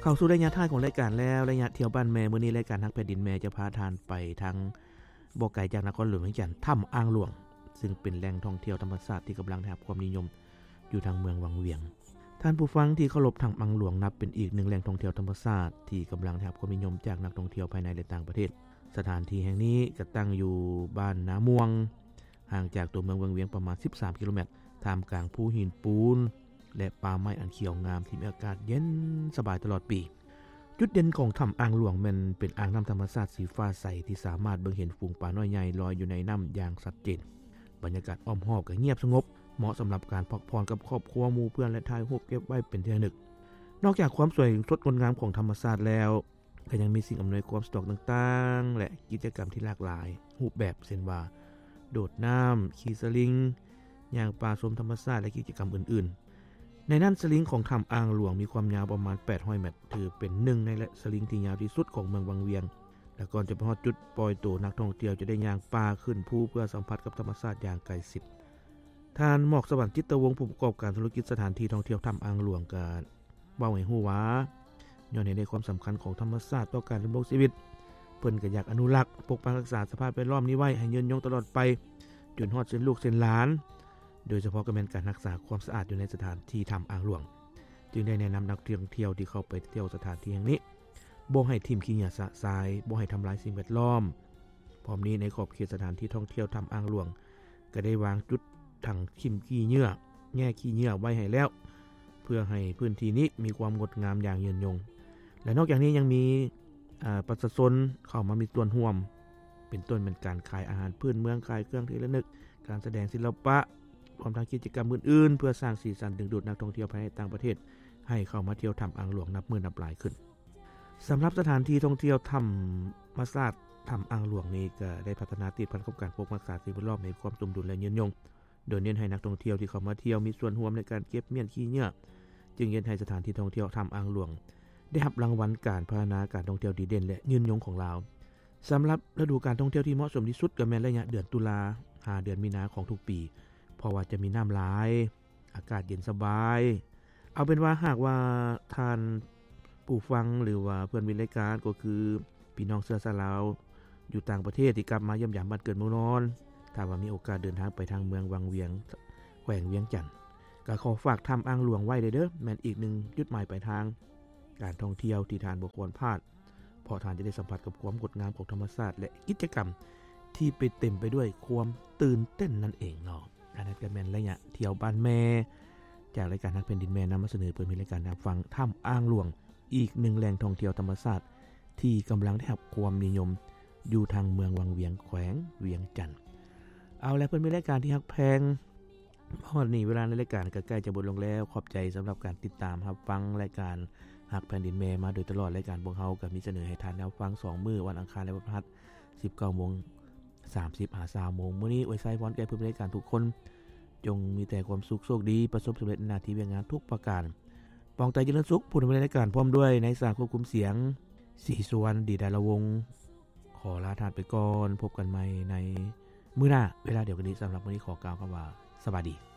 ເຂົ້າສູ່ໄລຍະທ້າຍຂອງລາຍການແລ້ວ, ໄລຍະທ່ຽວບ້ານແມ່. ມື້ນີ້ລາຍການຮັກແຜ່ນດິນແມ່ຈະພາທ່ານໄປທາງບໍ່ໄກຈາກນະຄອນຫຼວງວຽງຈັນ, ຖ້ຳອ່າງຫຼວງ, ຊຶ່ງເປັນແຫຼ່ງທ່ອງທ່ຽວທຳມະຊາດທີ່ກຳລັງໄດ້ຮັບຄວາມນິຍົມຢູ່ທາງເມືອງວັງວຽງ. ທ່ານຜູ້ຟັງທີ່ເຄົາລົບ, ຖ້ຳອ່າງຫຼວງນັບເປັນອີກໜຶ່ງແຫຼ່ງທ່ອງທ່ຽວທຳມະຊາດທີ່ກຳລັງໄດ້ຮັບຄວາມນິຍົມຈາກນັກທ່ອງທ່ຽວພາຍໃນ ແລະ ຕ່າງປະເທດ. ສະຖານທີ່ແຫ່ງນີ້ກໍຕັ້ງຢູ່ບ້ານນາມ່ວງ, ຫ່າງຈາກຕົວເມືອງວັງວຽງປະມານສິບສາມກິໂລແມັດ, ທ່າມກາງພູຫີນປູນ ແລະ ປ່າໄມ້ອັນຂຽວງາມທີ່ມີອາກາດເຢັນສະບາຍຕະຫຼອດປີ. ຈຸດເດັ່ນຂອງຖ້ຳອ່າງຫຼວງແມ່ນເປັນອ່າງນ້ຳທຳມະຊາດສີຟ້າໃສທີ່ສາມາດເບິ່ງເຫັນຝູງປານ້ອຍໃຫຍ່ລອຍຢູ່ໃນນ້ຳຢ່າງຊັດເຈນ. ບັນຍາກາດອ້ອມຮອບກໍງຽບສະຫງົບ, ເໝາະສຳລັບການພັກຜ່ອນກັບຄອບຄົວ, ໝູ່ເພື່ອນ ແລະ ຖ່າຍຮູບເກັບໄວ້ເປັນທີ່ລະນຶກ. ນອກຈາກຄວາມສວຍສົດງົດງາມຂອງທຳມະຊາດແລ້ວ, ກໍຍັງມີສິ່ງອຳນວຍຄວາມສະດວກຕ່າງໆ ແລະ ກິດຈະກຳທີ່ຫຼາກຫຼາຍຮູບແບບ ເຊັ່ນວ່າ ໂດດນ້ຳ, ຂີ່ສະລິງ, ຍ່າງປ່າຊົມທຳມະຊາດ ແລະ ກິດຈະກຳອື່ນໆ. ໃນນັ້ນ ສະລິງຂອງຖ້ຳອ່າງຫຼວງມີຄວາມຍາວປະມານແປດຮ້ອຍແມັດ, ຖືເປັນໜຶ່ງໃນສະລິງທີ່ຍາວທີ່ສຸດຂອງເມືອງວັງວຽງ ແລະ ກ່ອນຈະໄປຮອດຈຸດປ່ອຍໂຕ, ນັກທ່ອງທ່ຽວຈະໄດ້ຍ່າງປ່າຂຶ້ນພູເພື່ອສຳຜັດກັບທຳມະຊາດຢ່າງໃກ້ຊິດ. ທ່ານ ໝອກສະຫວັນ ຈິດຕະວົງ, ຜູ້ປະກອບການທຸລະກິດສະຖານທີ່ທ່ອງທ່ຽວຖ້ຳອ່າງຫຼວງ ກໍເວົ້າໃຫ້ຮູ້ວ່າ ຍ້ອນເຫັນໃນຄວາມສຳຄັນຂອງທຳມະຊາດຕໍ່ການດຳລົງຊີວິດ, ເພິ່ນກໍຢາກອະນຸລັກ, ປົກປັກຮັກສາສະພາບແວດລ້ອມນີ້ໄວ້ໃຫ້ຍືນຍົງຕະຫຼອດໄປ ຈົນຮອດເຊັ່ນລູກເຊັ່ນຫຼານ, ໂດຍສະເພາະກໍແມ່ນການຮັກສາຄວາມສະອາດຢູ່ໃນສະຖານທີ່ຖ້ຳອ່າງຫຼວງ, ຈຶ່ງໄດ້ແນະນຳນັກທ່ອງທ່ຽວທີ່ເຂົ້າໄປທ່ຽວສະຖານທີ່ແຫ່ງນີ້ ບໍ່ໃຫ້ຖິ້ມຂີ້ເຫຍື້ອຊະຊາຍ, ບໍ່ໃຫ້ທຳລາຍສິ່ງແວດລ້ອມ. ພ້ອມນີ້ ໃນຂອບເຂດສະຖານທີ່ທ່ອງທ່ຽວຖ້ຳອ່າງຫຼວງ ກໍໄດ້ວາງຈຸດຖັງຖິ້ມຂີ້ເຫຍື້ອ, ແງ່ຂີ້ເຫຍື້ອໄວ້ໃຫ້ແລ້ວ ເພື່ອໃຫ້ພື້ນທີ່ນີ້ມີຄວາມງົດງາມຢ່າງຍືນຍົງ. ແລະ ນອກຈາກນີ້ຍັງມີ ອາ ປະຊາຊົນເຂົ້າມາມີສ່ວນຮ່ວມ, ເປັນຕົ້ນແມ່ນການຂາຍອາຫານພື້ນເມືອງ, ຂາຍເຄື່ອງທີ່ລະນຶກ, ການສະແດງສິລະປະ, ລວມທັງກິດຈະກຳອື່ນໆ ເພື່ອສ້າງສີສັນດຶງດູດນັກທ່ອງທ່ຽວພາຍໃນ ແລະ ຕ່າງປະເທດ ໃຫ້ເຂົ້າມາທ່ຽວຖ້ຳອ່າງຫຼວງນັບມື້ນັບຫຼາຍຂຶ້ນ. ສຳລັບສະຖານທີ່ທ່ອງທ່ຽວທຳມະຊາດຖ້ຳອ່າງຫຼວງນີ້ ກໍໄດ້ພັດທະນາຕິດພັນກັບການປົກປັກຮັກສາສິ່ງແວດລ້ອມໃຫ້ຄວາມສົມດຸນ ແລະ ຍືນຍົງ, ໂດຍເນັ້ນໃຫ້ນັກທ່ອງທ່ຽວທີ່ເຂົ້າມາທ່ຽວມີສ່ວນຮ່ວມໃນການເກັບມ້ຽນຂີ້ເຫຍື້ອ, ຈຶ່ງເຮັດໃຫ້ສະຖານທີ່ທ່ອງທ່ຽວຖ້ຳອ່າງຫຼວງ ໄດ້ຮັບລາງວັນການພັດທະນາການທ່ອງທ່ຽວດີເດັ່ນ ແລະ ຍືນຍົງຂອງລາວ. ສຳລັບລະດູການທ່ອງທ່ຽວທີ່ເໝາະສົມທີ່ສຸດກໍແມ່ນໄລຍະເດືອນຕຸລາຫາເດືອນມີນາຂອງທຸກປີ, ເພາະວ່າຈະມີນ້ຳຫຼາຍ, ອາກາດເຢັນສະບາຍ. ເອົາເປັນວ່າ ຫາກວ່າທ່ານຜູ້ຟັງ ຫຼືວ່າເພື່ອນມິດລາຍການ ກໍຄືພີ່ນ້ອງເຊື້ອຊາດລາວຢູ່ຕ່າງປະເທດທີ່ກັບມາຢ້ຽມຢາມບ້ານເກີດເມືອງນອນ, ຖ້າວ່າມີໂອກາດເດີນທາງໄປທາງເມືອງວັງວຽງ ແຂວງວຽງຈັນ, ກໍຂໍຝາກຖ້ຳອ່າງຫຼວງໄວ້ເດີ້, ແມ່ນອີກໜຶ່ງຈຸດໝາຍປາຍທາງການທ່ອງທ່ຽວທີ່ທ່ານບໍ່ຄວນພາດ. ເພາະທ່ານຈະໄດ້ສຳຜັດກັບຄວາມງົດງາມຂອງທຳມະຊາດ ແລະ ກິດຈະກຳທີ່ໄປເຕັມໄປດ້ວຍຄວາມຕື່ນເຕັ້ນນັ້ນເອງເນາະ. ອັນນັ້ນກໍແມ່ນໄລຍະທ່ຽວບ້ານແມ່ ຈາກລາຍການຮັກແຜ່ນດິນແມ່ ນຳມາສະເໜີເພື່ອໃຫ້ລາຍການຮັບຟັງ ຖ້ຳອ່າງຫຼວງ ອີກໜຶ່ງແຫຼ່ງທ່ອງທ່ຽວທຳມະຊາດທີ່ກຳລັງໄດ້ຮັບຄວາມນິຍົມຢູ່ທາງເມືອງວັງວຽງ ແຂວງວຽງຈັນ. ເອົາລະ ເພື່ອນມິດລາຍການທີ່ຮັກແພງ, ຮອດນີ້ເວລາໃນລາຍການກໍໃກ້ຈະໝົດລົງແລ້ວ. ຂອບໃຈສຳລັບການຕິດຕາມຮັບຟັງລາຍການຮັກແຜ່ນດິນແມ່ມາໂດຍຕະຫຼອດ. ລາຍການພວກເຮົາກໍມີສະເໜີໃຫ້ທ່ານໄດ້ຟັງສອງມື້, ວັນອັງຄານ ແລະ ວັນພະຫັດ, ສິບເກົ້າໂມງສາມສິບ ຫາ ຊາວໂມງ. ມື້ນີ້ອວຍໄຊພອນແກ່ເພື່ອນລາຍການທຸກຄົນ, ຈົ່ງມີແຕ່ຄວາມສຸກ, ໂຊກດີ, ປະສົບສຳເລັດໃນໜ້າທີ່ວຽກງານທຸກປະການ. ປອງໄຕຈະເລີນສຸກ, ຜູ້ດຳເນີນລາຍການ ພ້ອມດ້ວຍນາຍຊ່າງຄວບຄຸມສຽງ ສີສຸວັນ ດີດາລະວົງ ຂໍລາທ່ານໄປກ່ອນ. ພົບກັນໃໝ່ໃນມື້ໜ້າເວລາດຽວກັນນີ້. ສຳລັບມື້ນີ້ຂໍກ່າວຄຳວ່າ ສະບາຍດີ.